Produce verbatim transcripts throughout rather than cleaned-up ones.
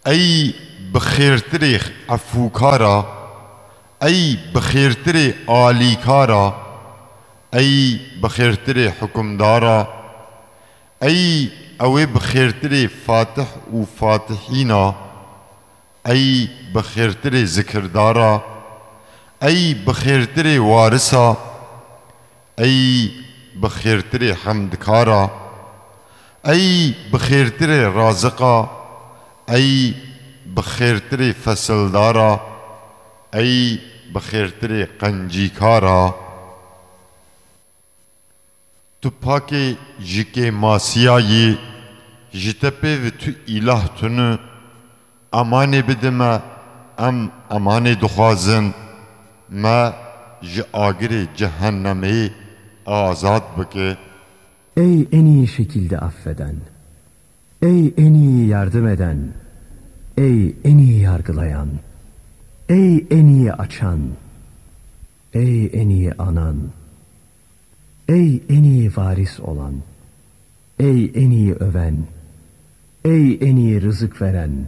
Ey bi xêrtirê efûkara, ey bi xêrtirê alîkara, ey bi xêrtirê hukimdara, ey ew ê bi xêrtirê fatih û fatihîna, ey bi xêrtirê zikirdara, ey bi xêrtirê warisa, ey bi xêrtirê hemdkara, ey bi xêrtirê raziqa, ey bi xêrtirê fesildara, ey bi xêrtirê qencîkara. Tu pakê ji kêmasiya yî, ji te pê ve tu îlah tune, emanê bide me, em emanê dixwazin, me ji agirê cehennemê azad bike. Ey en iyi şekilde affeden, ey en iyi yardım eden, ey en iyi yargılayan, ey en iyi açan, ey en iyi anan, ey en iyi varis olan, ey en iyi öven, ey en iyi rızık veren,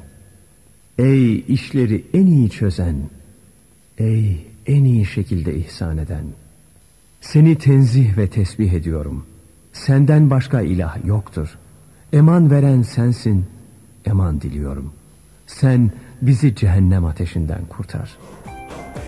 ey işleri en iyi çözen, ey en iyi şekilde ihsan eden. Seni tenzih ve tesbih ediyorum. Senden başka ilah yoktur. Eman veren sensin. Eman diliyorum. Sen bizi cehennem ateşinden kurtar.